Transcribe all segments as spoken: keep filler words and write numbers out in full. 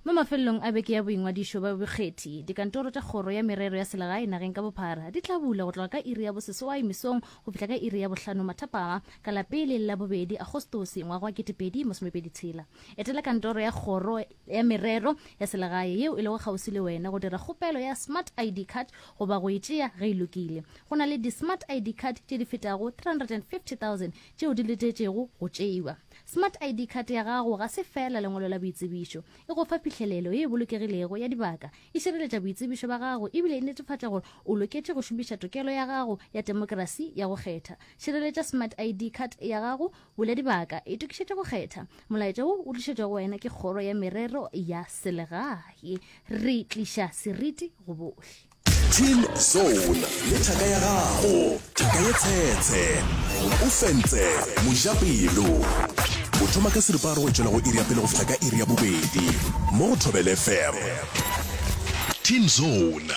Mo mafelelong a beke ya boingwadišo ba bokgethi, dikantoro tša Kgoro ya Merero ya Selegae nageng ka bophara di tla bula go tloga ka iri ya boseswai mesong go fihla ka iri ya bohlano mathapama ka la pele le la bobedi Agostose ngwaga wa ketepedi masomepedi tshela. Etela kantoro ya Kgoro ya Merero ya Selegae yeo e lego kgauswi le wena go dira kgopelo ya Smart I D card goba go e tšea ge e lokile. Go na le di-Smart I D card tše di fetago three hundred and fifty thousand tšeo di letetšego go tšeiwa. Smart I D card ya gago ga se feela lengwalo la boitsebišo. E go fa phihlelelo ye e bolokegilego ya dibaka, e šireletša boitsebišo ba gago ebile e netefatša gore o loketše go šomiša tokelo ya gago ya temokrasi ya go kgetha. Šireletša Smart I D card ya gago, bula dibaka, itokišetše go kgetha. Molaetša wo o tlišetšwa go wena ke Kgoro ya Merero ya Selegae. Re tliša seriti go bohle. Teen Zone le thaka ya gago, thaka ye tshetshe, o fentse mojapelo. O thoma ka seripagare go tšwela go iri ya pele go fihla ka iri ya bobedi mo go Thobela F M. Teen Zone.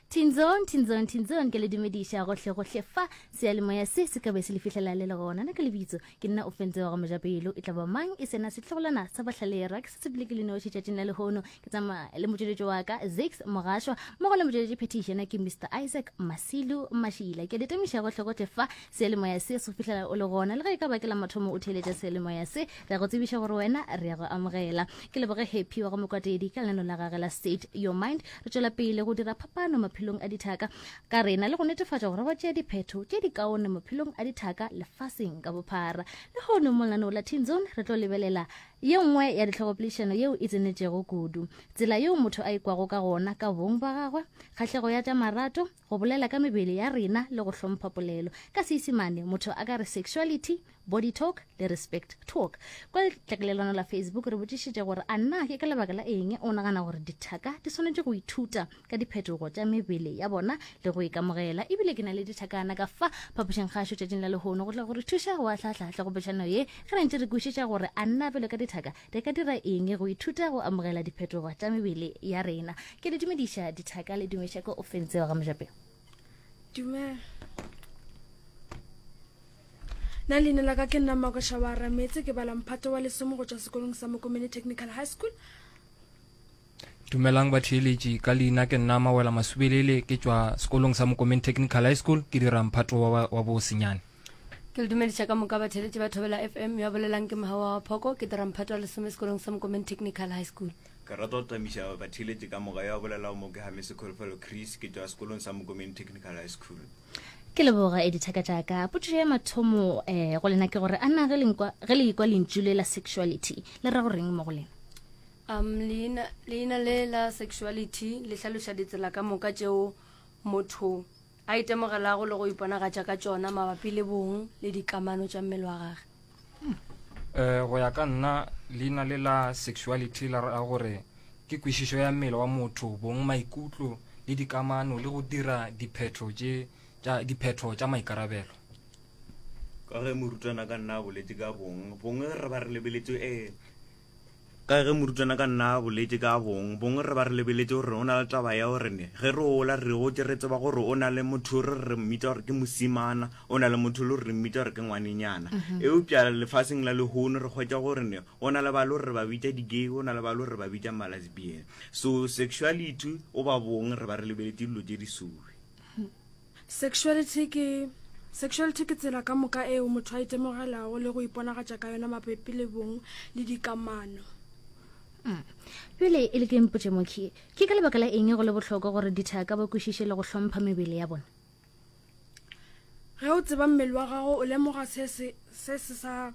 Teen Zone, Teen Zone, Teen Zone, ke le dumediša gohle gohle fa seyalemoya se se ka be se le fihlela le le gona. Na ke lebitso ke nna Ofentse wa ga Mojapelo. E tla ba mang e sena setlogolwana sa Bahlalerwa ke se sepele ke le noši tšatšing la lehono. Ke tsamaya le motšweletši wa ka Zix Mogašwa mmogo le motšweletši phethiši yena ke Mister Isaac Masilu Mašila. Ke le temiša gohle gohle fa seyalemoya se se fihlela o le gona. Le ge e ka ba ke la mathomo o theeletša seyalemoya se, re go tsebiša gore wena re ya go amogela. Ke leboge Happy wa go Mokwatedi ka lenano la gage la State Your Mind. Re tšwela pele go dira phapano maphelong a dithaka ka rena le go netefatša gore ba tšea diphetho tše di kaone maphelong a dithaka lefaseng ka bophara. Lehono mo lenaneo la Teen Zone re tlo lebelela ye nngwe ya dihlogopoledišano yeo e tsenetšego kudu, tsela yeo motho a ikwago ka gona ka bong ba gagwe, kgahlego ya tša marato, go bolela ka mebele ya rena le go hlompha polelo. Ka Seisemane motho a ka re sexuality, body talk le respect talk. Kwa letlakalelano la Facebook re botšišitše gore a na ke ka lebaka la eng o nagana gore dithaka di swanetše go ithuta ka diphetogo tša mebele ya bona le go ikamogela. Ebile ke na le dithakana ka fa phapošeng kgašo tšatšing la lehono go tla go re thuša go ahlaahlahla go petšhano ye ge re ntše re kwešiša gore a nna pele ka dithaka re ka dira eng go ithuta go amogela diphetogo tša mebele ya rena. Ke le dumediša dithaka, le dumiša ko Ofentse wa ga Mojapelo. Dumela. Nna leina la ka ke nna Makoša wa Rametse, ke bala mphato wa lesome go tšwa sekolong sa Mokomene Technical High School. Dumelang batheeletši, ka leina ke nna Mawela Masubelele, ke tšwa sekolong sa Mokomene Technical High School, ke dira mphato wa, wa bosenyane. Ke le dumediša ka moka batheeletši ba Thobela F M. Yo a bolelang ke Mogawa wa Phoko, ke dira mphato wa lesome sekolong sa Mokomene Technical High School. Ke rata go tamiša batheeletši ka moka. Yo a bolelago mo ke Hamese Kholofelo Chris, ke tšwa sekolong sa Mokomene Technical High School. Ke leboga e dithaka tšaka. Potšišo ya mathomo um go lena ke gore a na ge le ikwa lentšu le la sexuality le ra goreng mo go lena? um leina leina le la sexuality le hlaloša ditsela ka moka tšeo motho a itemogelago le go iponagatša ka tšona mabapi le bong le dikamano tša mmele wa gage. um go ya ka nna, leina le la sexuality la ra gore ke kwešišo ya mmele wa motho, bong, maikutlo le dikamano le go dira diphetho tše tša diphetho tša maikarabelo. Ka ge morutwana ka nna a boletše ka bong bong re ba re lebeletše um ka ge morutwana ka nna a boletše ka bong bong re ba re lebeletše gore o na le taba ya gore ne ge re ola re gotse re tseba gore o na le motho re re mmitsa gore ke mosimana, o na le motho le gore re mmitsa gore ke ngwanenyana. Eupša lefaseng la lehono re kgwetsa gore ne o na le ba le gore re ba bitsa di-gay, o na le ba le gore re ba bitsa ma-lesbian. So sexuality o ba bong re ba re lebeletše dilo tše di suwe. Sexuality ke sexuality ke tsela ka moka eo motho a itemogelago le go iponagatša ka yona mabapi le bong le dikamano. Pele e le ke mpotše mokhi, ke ka lebaka la eng go le bohlokwa gore dithaka ba kwešiše le go hlompha mebele ya bona? Ge o tseba mmele wa gago, o lemoga se se se se sa